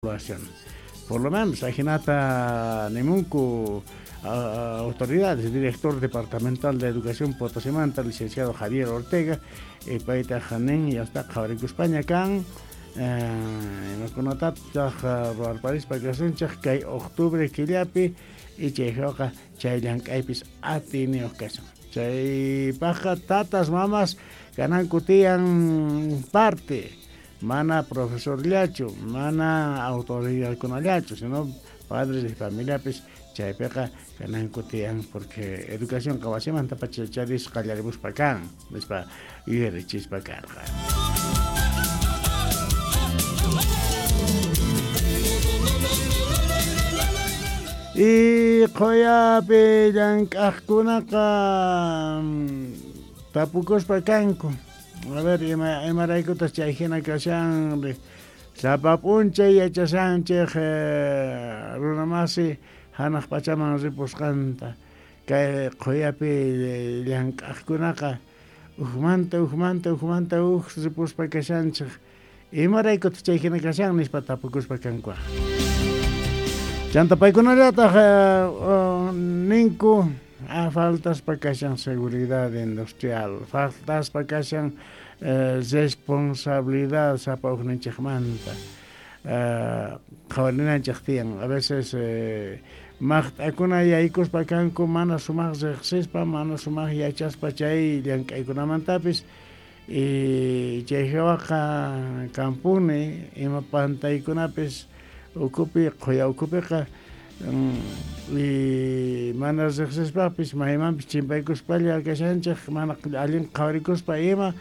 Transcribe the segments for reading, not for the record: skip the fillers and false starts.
Evaluación. Por lo menos, ajinata nimunku autoridades, director departamental de Educación Potosimanta, licenciado Javier Ortega, paytaq nin yasta qhawarikuspaña kan, imakunatataq ruwarparispa kasunchik kay octubre killapi, y chayqa chay llank'aypis atiyniyuq kasun. Chaypaqqa tatas mamas kananku tiyan parte, mana profesorllachu, mana autoridadkunallachu, sino padres de familiapis chaypiqa kananku tiyan, porque educación wasimanta pacha charisqa qallarimuspa kan, nispa yuyarichispa karqa. Y qhuyapi llank'aqkunaqa tapukuspa kanku. A ver, imaraykutas chay hina kashan, sapa p'unchay yachashanchik runamasi hanaq pachaman ripusqanta. Kay qhuyapi llank'aqkunaqa ujmanta, ujmanta, ujmanta uj ripuspa kashanchik. Imaraykutas chay hina kashan nispa tapukuspa kanku. Chanta paykunallataq ninku, faltaspa kashan seguridad industrial, faltaspa kashan responsabilidad sapa ujninchikmanta. Qhawarinanchik tiyan, a veces maqt'akuna yaykuspa kanku mana sumaq riqsispa, mana sumaq yachaspa chay llank'aykunamantapis, y chay hawaqa kampuni ima pantaykunapis ukupi, qhuya ukupiqa, y mana riqsispapis maymanpis chimpaykuspalla kashanchik, mana allin qhawarikuspa ima,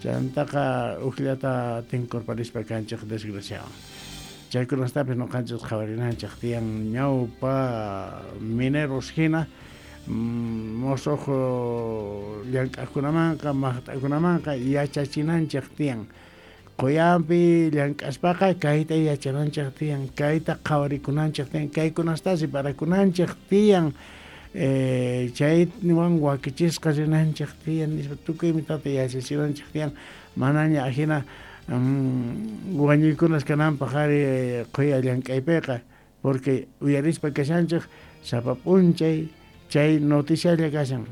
chantaqa ujllata tinkurparispa kanchik desgraciawan. Chaykunastapis nuqanchik qhawarinanchik tiyan ñawpa mineros hina, musuq llank'aqkunamanqa, maqt'akunamanqa yachachinanchik tiyan. Qhuyanpi llank'aspaqa kayta yachananchik tiyan, kayta qhawarikunanchik tiyan, kaykunastasi parakunanchik tiyan, chaywan wakichisqa rinanchik tiyan, nispa tukuy imatata yachachinanchik tiyan, manaña ajina wañuykunas kananpaq ari qhuya llank'aypiqa, porque uyarispa kashanchik sapa p'unchay chay noticialla kashan.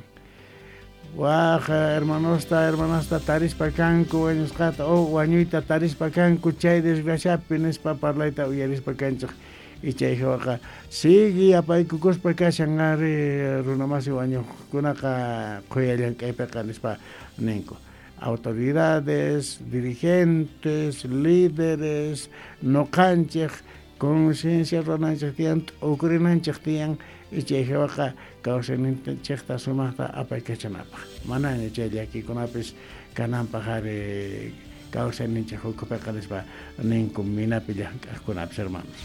Waj hermanosta, hermanasta tarispa kanku wañusqata o wañuyta tarispa kanku chay desgraciapi nispa parlayta uyarispa kanchik. Y chay hawaqa sigue apaykukuspa kashan ari runamasi wañuqkunaqa qhuya llank'aypiqa nispa ninku. Autoridades, dirigentes, líderes, nuqanchik conciencia runanchik tiyan, t'ukurinanchik tiyan, y chay hawaqa kawsayninchikta sumaqta apaykachanapaq. Manaña chay llakikunapis kananpaq ari kawsayninchik ukupiqa nispa ninku minapi llank'aqkunapis, hermanos.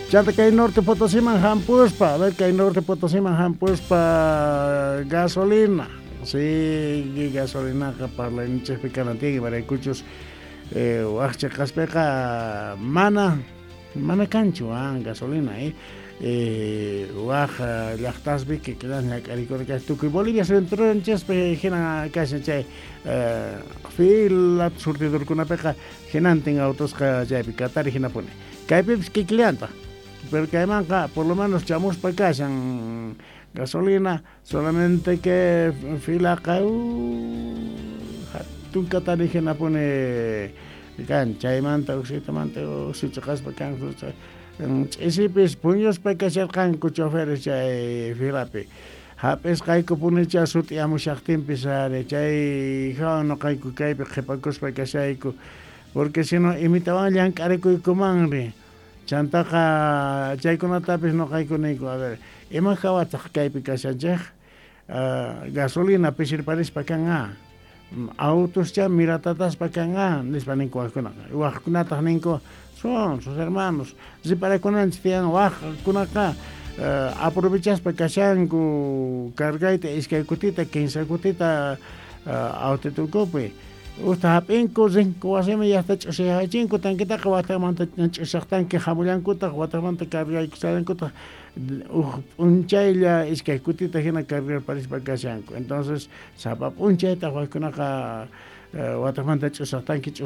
Chanta kay Norte Potosiman hampuspa, a ver, kay Norte Potosiman hampuspa gasolina. Sí, gasolinaqa parlayninchikpi kanan tiyan, imaraykuchus waqcha kaspiqa mana kanchu, gasolina, waq llaqtaspi kikilan ñak'arikurqa tukuy Bolivia centronchispi hina kashan chay fila surtidorkunapiqa hinantin autosqa chaypi katari hinapuni. Kaypipis kikillantaq, pero kaymanqa por lo menos chamuspa kashan gasolina, solamente que filaqa hatun katari hinapuni kan, chaymanta uksitamanta uksichaqaspa kan, ch'isipis puñuspa kasharqanku choferes chay filapi. Hap'isqayku punicha sut'iyamushaqtinpis ari chay hawan nuqayku kaypi qhipakuspa kashayku, porque sino imitawan llank'arikuykumanri. Chantaqa chaykunatapis nuqayku niyku, a ver, ima hawataq kaypi kashanchik? Gasolina pisirparispa kan, autoscha miratataspa kan, nispa ninku waqkunaqa. Waqkunataq ninku, son sus hermanos, riparakunanchik tiyan waqkunaqa aprovechaspa kashanku cargayta iskay kutita, kinsa kutita autotukupi. Usta hap'inku rinku wasiman llaqta ch'usiyachinku tanquetaqa watamanta ch'usaq tanque hamullankutaq watamanta cargaykusallankutaq uj p'unchaylla iskay kutita hina cargarparispa kashanku. Entonces sapa p'unchaytaq waqkunaqa Wataqmanta ch'usaq tanki, ch'usaq.